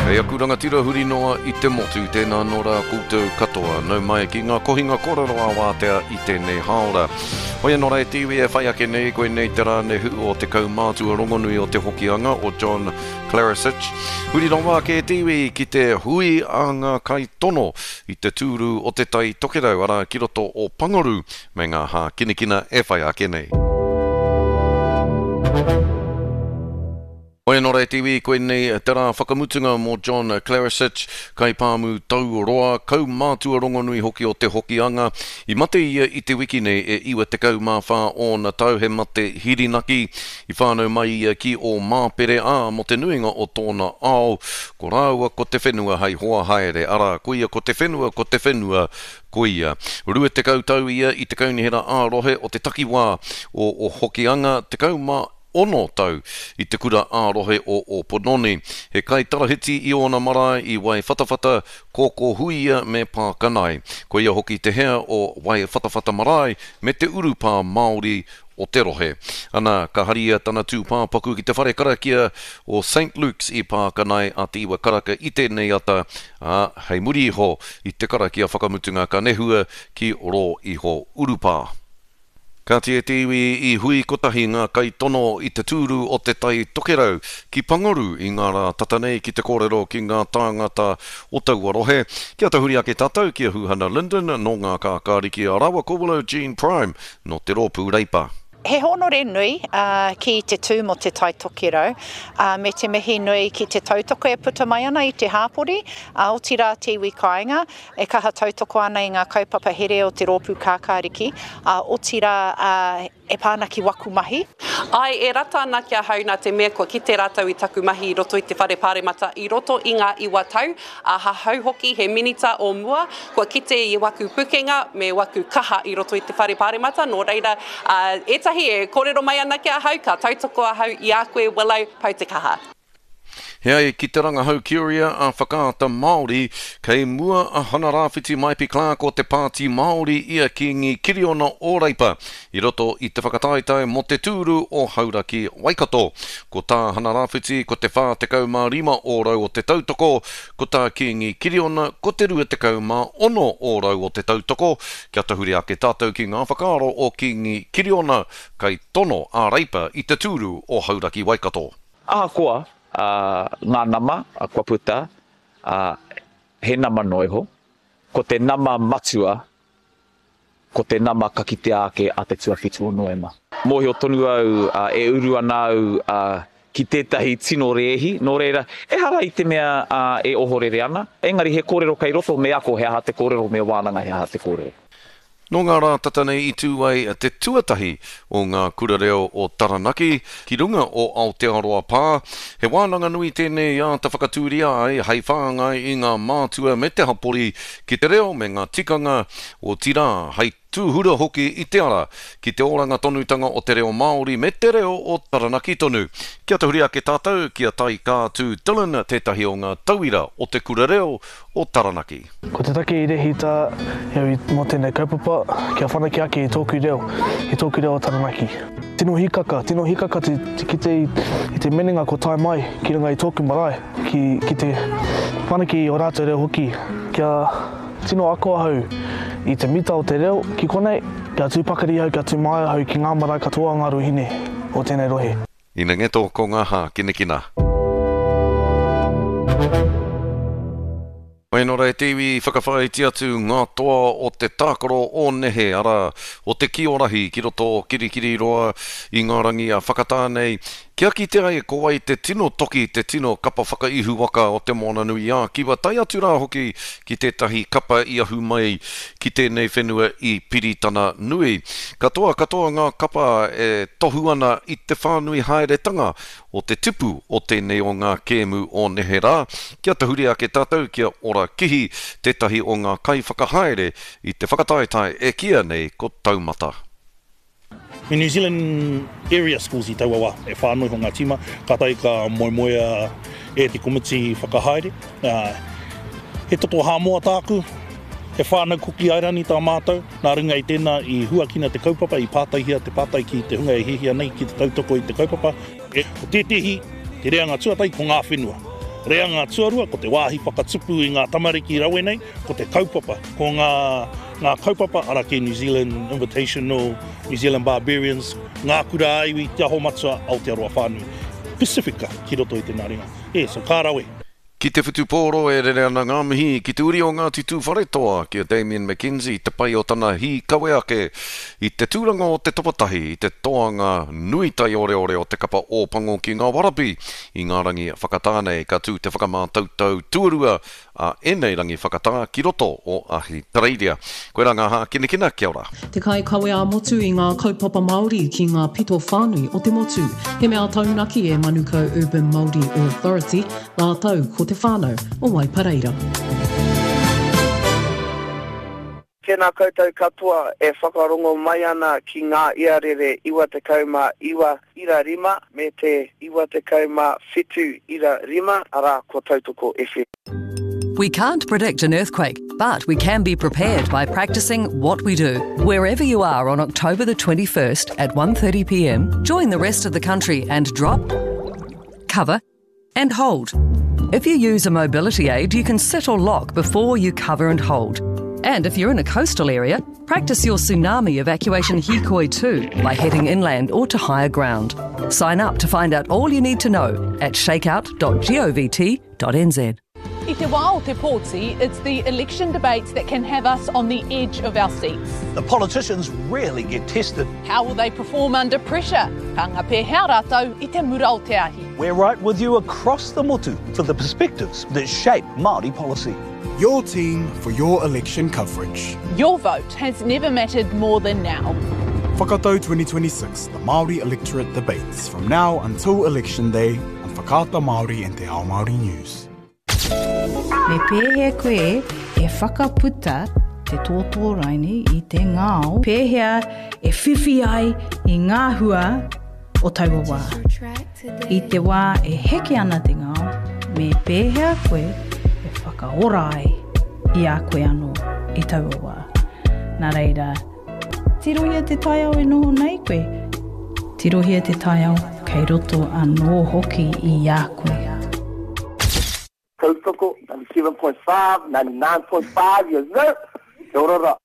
Kei aku rangatira huri noa i te motu, tēnā anō rā koutou katoa. Nau mai ki ngā kohinga kōrero ā-wātea i tēnei hāora. Hoi anō rā e te iwi e whai ake nei, koinei te rā nehu o te kaumātua rongonui o Te Hokianga, o John Klaricich. Huri rawa ake e te iwi ki te hui a ngā kaitono i te tūru o Te Tai Tokerau, arā ki roto o Pangaru me ngā hākinakina e whai ake nei. Hoi anō rā e te iwi, koinei te rā whakamutunga mō John Klaricich, kaipāmu tauroa, kaumātua rongonui hoki o Te Hokianga. I mate ia i te wiki nei e 94 ōna tau, he mate hirinaki. I whānau mai ia ki Ōmāpere, ā, mō te nuinga o tōna ao, ko rāua ko te whenua hei hoa haere, arā, koia ko te whenua, ko te whenua, koia. 20 tau ia i te kaunihera ā-rohe o te takiwā o Hokianga, 16 tau i te kura ā-rohe o Ōpononi. He kaitarahiti i ōna marae i Waiwhatawhata, Kōkōhuia me Pākanai. Koia hoki te hea o Waiwhatawhata Marae me te urupā Māori o te rohe. Ana, ka haria tana tūpāpaku ki te whare karakia o Saint Luke's i Pākanai a Te Iwa Karaka i tēnei ata, ā, hei muri iho i te karakia whakamutunga ka nehua ki rō iho urupā. Kāti e te iwi i hui kotahi ngā kaitono i te tūru o Te Tai Tokerau ki Pangaru i ngā rā tata nei ki te kōrero ki ngā tāngata o taua rohe. Kia tahuri ake tātou ki a Huhana Lyndon nō Ngā Kākāriki a rāua ko Willow Jean Prime nō te Rōpū Reipa. He hōnore nui ki te tū mō Te Tai Tokerau, me te mihi nui ki te tautoko e puta mai ana i te hāpori, otirā te iwi kāinga, e kaha tautoko ana i ngā kaupapa here o te Rōpū Kākāriki, otirā e pā ana ki waku mahi. Āe, e rata ana ki ahau nā te mea kua kite rātou i taku mahi i roto i te Whare Pāremata i roto i ngā iwa tau, ahahau hoki he minita o mua, kua kite i waku pukenga me waku kaha i roto i te Whare Pāremata, nō reira, ētahi e kōrero mai ana ki ahau, ka tautoko ahau i a koe Willow, pau te kaha. He ai ki te rangahau Curia a Whakaata Māori, kei mua a Hana-Rāwhiti Maipi-Clarke o te Pāti Māori i a Kīngi Kiriona o Reipa i roto i te whakataetae mō te tūru o Hauraki Waikato. Ko tā Hana-Rāwhiti ko te 45 ōrau o te tautoko, ko tā Kīngi Kiriona ko te 26 ōrau o te tautoko. Kia tahuri ake tātou ki ngā whakaaro o Kīngi Kiriona, kaitono a Reipa i te tūru o Hauraki Waikato. Ahakoa ngā nama kua puta, he nama noa iho, ko te nama matua, ko te nama ka kitea ake a te tuawhitu o Noema. Mōhio tonu au e uru ana au ki tētahi tino rēhi, nō reira, ehara i te mea e ohorere ana, engari he kōrero kei roto me ako he aha te kōrero, me wānanga he aha te kōrero. Nō ngā rā tata nei i tū ai te tuatahi o ngā kura reo o Taranaki ki runga o Aotearoa Pā. He wānanga nui tēnei i āta whakatūria ai hei whāngai i ngā mātua me te hapori ki te reo me ngā tikanga, otirā, hei tūhura hoki i te ara ki te oranga tonutanga o te reo Māori me te reo o Taranaki tonu. Kia tahuri ake tātou ki a Taikātū Dillon, tētahi o ngā tauira o te kura reo o Taranaki. Ko te take i rehita e au mō tēnei kaupapa, kia whanake ake i tōku reo, i tōku reo o Taranaki. Tino hīkaka, tino hīkaka te kite i te minenga kua tae mai ki runga i tōku marae, ki, ki te whanake i ō rātou reo hoki. Kia tino ako ahau i te mita o te reo ki konei, kia tū pakari ahau, kia tū māia ahau ki ngā marae katoa o ngā ruahine o tēnei rohe. Ina ngeto ko nga hākinakina. Mai nō rā e te iwi i whakawhāiti atu ngā toa o te tākaro o nehe, arā, o te kiorahi ki roto o Kirikiriroa i ngā rangi a Whakatānei, kia kitea ai ko wai te tino toki, te tino kapa whakaihuwaka o Te Moananui-a-Kiwa, tae atu rā hoki ki tētahi kapa i ahu mai ki tēnei whenua i Piritana Nui. Katoa katoa ngā kapa e tohu ana i te whānui haeretanga o te tipu o tēnei o ngā kēmu o neherā. Kia tahuri ake tātou kia ora kihi tētahi o ngā kaiwhakahaere i te whakataetae e kīia nei ko Taumata. Me New Zealand Area Schools i taua wā, e whānui iho ngā tīma, kātahi ka moemoea e te komiti whakahaere. He toto Hāmoa tāku, he whānau Kuki Airani tā mātou, nā runga i tēnā i huakina te kaupapa, i pātaihia te pātai ki te hunga e hiahia nei ki te tautoko i te kaupapa. Ko tētehi, te reanga tuatahi ko ngā whenua. Reanga tuarua, ko te wāhi whakatupu i ngā tamariki rawe nei, ko te kaupapa, ko ngā, ngā kaupapa, arā kē New Zealand Invitational, New Zealand Barbarians, ngā kura ā-iwi, Te Aho Matua, Aotearoa whānui. Pasifika ki roto i te naringa. E, so ka rawe. Ki te whutupōro e rere ana ngā mihi ki te uri o Ngāti Tūwharetoa, ki a Damian McKenzie, te pai o tana hīkawe ake i te tūranga o te tapatahi i te toanga nui taioreore o te kapa Ōpango ki ngā Warabi i ngā rangi whakatā nei. Ka tū te whakamātautau tuarua a ēnei rangi whakatā ki roto o Ahitereiria. Koirā ngā hākinakina, kia ora. Te kaikawe ā-motu i ngā kaupapa Māori ki ngā pito whānui o te motu. He mea taunaki e Manukau Urban Māori Authority rātou ko te whānau o Waipareira. Tēnā koutou katoa e whakarongo mai ana ki ngā iarere 99.5 me te 97.5, arā, ko Tautoko FM. We can't predict an earthquake, but we can be prepared by practicing what we do. Wherever you are on October the 21st at 1:30 p.m., join the rest of the country and drop, cover, and hold. If you use a mobility aid, you can sit or lock before you cover and hold. And if you're in a coastal area, practice your tsunami evacuation hikoi too by heading inland or to higher ground. Sign up to find out all you need to know at shakeout.govt.nz. I te wā o te pōti, it's the election debates that can have us on the edge of our seats. The politicians rarely get tested. How will they perform under pressure? Ka ngā pēhea rātou i te mura o te ahi? We're right with you across the motu for the perspectives that shape Māori policy. Your team for your election coverage. Your vote has never mattered more than now. Whakatau 2026, the Māori Electorate Debates, from now until Election Day on Whakaata Māori and Te Ao Māori News. Me pēhea koe e whakaputa te tōtō raini i te ngao? Pēhea e whiwhi ai i ngā hua o taua wā? I te wā e heke ana te ngao, me pēhea koe e whakaora ai i a koe anō i taua wā? Nā reira, tirohia te taiao e noho nei koe. Tirohia te taiao kei roto anō hoki i a koe. Tautoko, 97.5, 99.5, yes sir! Kia ora ra.